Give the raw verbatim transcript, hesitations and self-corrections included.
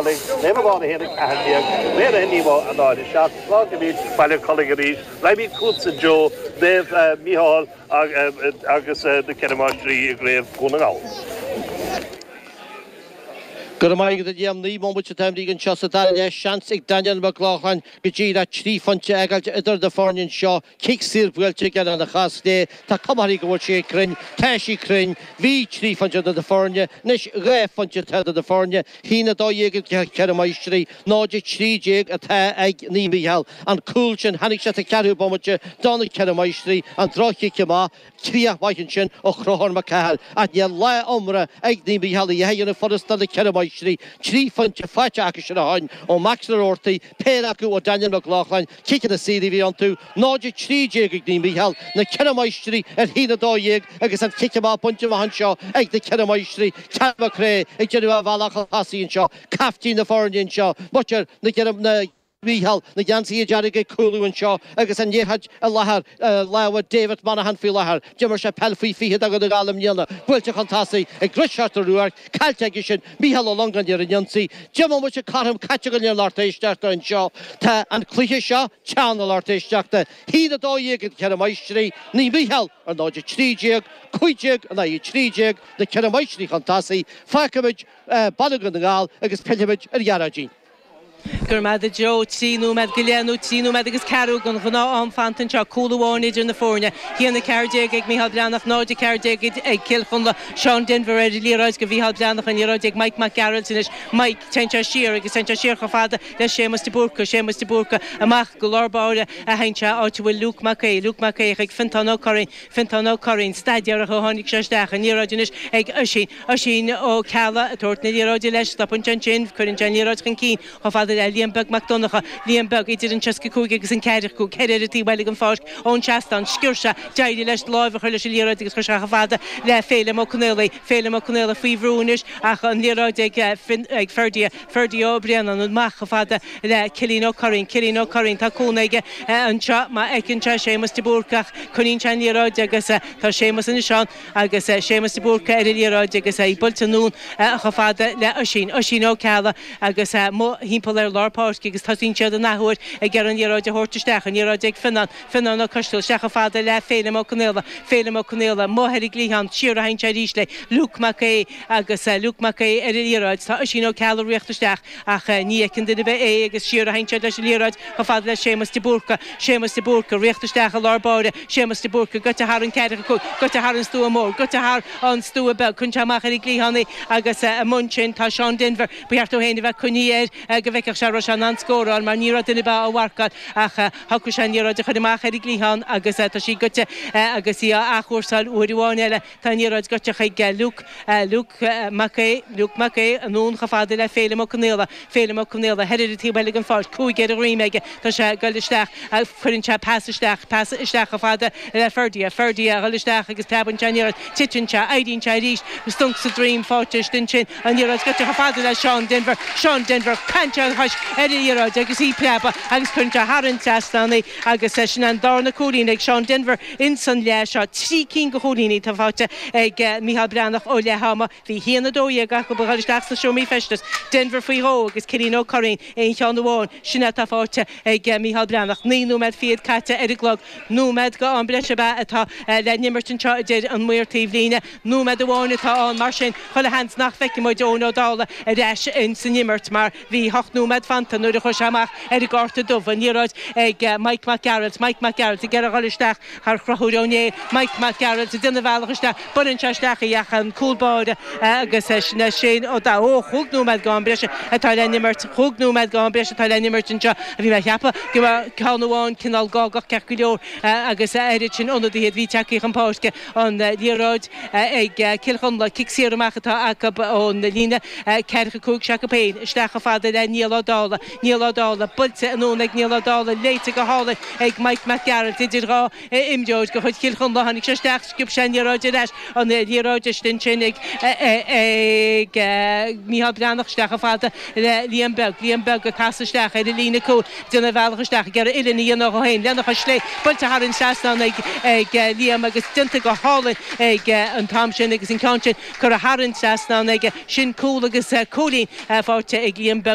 Collaigh, Naomh Abán a haon a ceathair déag, Naomh a haon a náid a seacht, fágfaimid Baile Collaigh arís, raghaimid chugatsa Joe, Naomh Mícheál agus na Ceithre Máistrí i gCraobh Dhún na nGall. Go raibh maith agat a Liam, naoi mbomaite atá imithe anseo sa dara leath, seans ag Daniel Mac Lochlainn go díreach trí phointe a fhágáilt idir na foirne anseo, cic saor buailte aige lena chois chlé, tá cuma uirthi go bhfuil sí cruinn, tá sí cruinn, bhí trí phointe idir na foirne, anois dhá phointe atá idir na foirne, haon a dó dhéag ag Ceithre Máistrí, náid a trí déag atá ag Naomh Mícheál. An cúl sin, tháinig sé sa cheathrú bomaite do na Ceithre Máistrí, an droch-chic amach, críoch mhaith ansin ó Chonchúr Mac Cathaill, ach níl lá iomrá ag Naomh Mícheál a dhéanamh furasta na Ceithre Máistrí, trí phointe faighte acu sin ó shin ó Max Roarty, péire acu ó Daniel Mac Lochlainn, ciceanna saora a bhí iontu, náid a trí déag ag Naomh Mícheál, na Ceithre Máistrí ar haon a dó dhéag agus an cic amach bainte amach anseo ag na Ceithre Máistrí, Ceal McRae ag déanamh a bhealach chun tosaigh anseo, caiftín na foirne anseo, muintir na na Mícheál, na geansaithe dearga ag cúlú anseo agus an liathróid i láthair lámha David Monaghan faoi láthair. D'imir sé peil faoi fiche do Dhún na nGall i mbliana. Buailte chun tosaigh ag Risteard Ó Ruairc, caillte aige sin, Mícheál Ó Longáin ar an ionsaí. Deich mbomaite cothrom caite go léir lucht éisteachta anseo. Tá an cluiche seo teann a lucht éisteachta. Haon a dó dhéag ag Ceithre Máistrí, Naomh Mícheál ar náid a trí déag, cúig déag in aghaidh a trí déag, na Ceithre Máistrí chun tosaigh. Fágfaimid Baile Dhún na nGall agus pillfimid ar Ghearóidín. Go raibh maith agat Joe, trí nóiméad go leith nó trí nóiméad agus ceathrú den ghnáth-am fanta anseo, cúl amháin idir na foirne. Haon a ceathair déag ag Mícheál Breathnach, náid a ceathair déag ag Cill Chonla. Seán Denvir ar an liathróid do Mhícheál Breathnach, an liathróid ag Mike Mac Gearailt anois. Mike, téann sé siar agus téann sé siar chomh fada le Séamus de Búrca, Séamus de Búrca amach go lár báire a théann sé, áit a bhfuil Luke Mac Aodha, Luke Mac Aodha chuig Fiontán Ó Curraoin, Fiontán Ó Curraoin, staidéar ó tháinig sé isteach, an liathróid anois ag Oisín, Oisín Ó Ceallaigh ag tabhairt na liathróide leis, stopann sé ansin, cuireann sé an liathróid chun cinn chomh fada le Liam Beag Mac Donncha, Liam Beag idir an seasca cúig agus an ceathracha cúig, ceithre ar an taobh eile den pháirc ón seastán, sciorr sé, d'éirigh leis láimh a chur leis an liathróid agus chuir sé chomh fada le Féilim Ó Conaola, Féilim Ó Conaola faoi bhrú anois ach an liathróid ag ag Ferdia, Ferdia Ó Braonáin amach chomh fada le Cillian Ó Curraoin, Cillian Ó Curraoin, tá cúnamh aige anseo má fheiceann sé Séamus de Búrca ach coinníonn sé an liathróid agus tá Séamus anois ann agus Séamus de Búrca ar an liathróid agus é buailte anonn chomh fada le Oisín, Oisín Ó Ceallaigh agus amuigh thimpeall ar lár páirce agus tosaíonn siad an athuair ag iarraidh an liathróid a thabhairt isteach, an liathróid ag Fionnán, Fionnán Ó Coisteal, isteach chomh fada le Féilim Ó Conaola, Féilim Ó Conaola, amuigh ar an gcliathán, siar a théann sé arís le Luke Mac Aodha agus Luke Mac Aodha ar an liathróid. Tá Oisín Ó Ceallaigh ag rith isteach ach ní fheiceann duine ar bith é agus siar a théann siad leis an liathróid chomh fada le Séamus de Búrca, Séamus de Búrca, ag rith isteach i lár báire, Séamus de Búrca, goite thar an ceathracha cúig, goite thar an stua mór, goite thar an stua beag, cuireann sé amach ar an gcliathán í agus amuigh ansin tá Seán Denvir, ba cheart dó féin a bheith coinnithe air go bhfeicfeadh sé an raibh sé in ann scóráil mar ní raibh duine ar bith á mharcáil ach shocraigh sé an liathróid a chur amach ar an gcliathán agus tá sí goite agus í á athchúrsáil uair amháin eile. Tá an liathróid goite chuig Luke, Luke Mac Aodha, Luke Mac Aodha anonn chomh fada le Féilim Ó Conaola, Féilim Ó Conaola thoir ar an taobh eile den pháirc, cúig ar a dhroim aige, tá sé ag dul isteach, cuireann sé pas isteach, pas isteach chomh fada le Ferdia, Ferdia a dhul isteach agus preabann sé an liathróid, titeann sé, éiríonn sé arís, stunc sa droim faighte istigh ansin, an liathróid goite chomh fada le Seán Denvir, Seán Denvir, caitheann sé a chois ar an liathróid agus í ag preabadh agus cuireann sé thar an trasnán í agus sin an darna cúilín ag Seán Denvir ins an leath seo. Trí cinn de chúilíní atá faighte ag Mícheál Breathnach ó leath ama. Bhí haon a dó dhéag acu ag dul isteach sna seomraí feistis, Denvir faoi dhó agus Cillian Ó Curraoin aon cheann amháin. Sin é atá faighte ag Mícheál Breathnach. Naoi nóiméad fichead caite ar an gclog. Nóiméad go am breise ab ea atá le n-imirt anseo, a deir an maor taobhlíne. Nóiméad amháin atá ann, mar sin chuile sheans nach bhfeicfidh muid Eoin Ó Dálaigh ar ais ins an imirt mar bhí hocht nóiméad fanta nuair a chuaigh sé amach ar an gcárta dubh. An liathróid ag Mike Mac Gearailt, Mike Mac Gearailt ag iarraidh dhul isteach thar Chonchúr Ó Néill, Mike Mac Gearailt ag déanamh a bhealach isteach, baineann sé isteach í ach an cúl báire agus sin é Shane Ó Dálaigh. Ó, chúig nóiméad go am breise atá le n-imirt, chúig nóiméad go am breise atá le n-imirt anseo. Bhí mé a cheapadh go raibh ceann amháin cineál gágach ceart go leor agus a oiread sin ionadaithe a bhí tagtha chun páirce. An liathróid ag Cill Chonla, cic saor amach atá acu ón líne ceathracha cúig s'acu féin, isteach chomh fada le Niall Ó Dálaigh. Niall Ó Dálaigh, buailte anonn ag Niall Ó Dálaigh, léite go hálainn ag Mike Mac Gearailt idir dhá imreoir de chuid Chill Chonla. Tháinig sé isteach, sciob sé an liathróid ar ais, an liathróid istigh ansin ag ag Mícheál Breathnach, isteach chomh fada le Liam Beag. Liam Beag ag casadh isteach ar an líne cúil, déanamh a bhealach isteach, ag iarraidh uillinn a dhéanamh dhó féin lena chois chlé, buailte thar an trasnán ag ag Liam agus déanta go hálainn ag an t-am sin agus an ceann sin curtha thar an trasnán aige. Sin cúl agus cúilín faighte ag Liam Beag.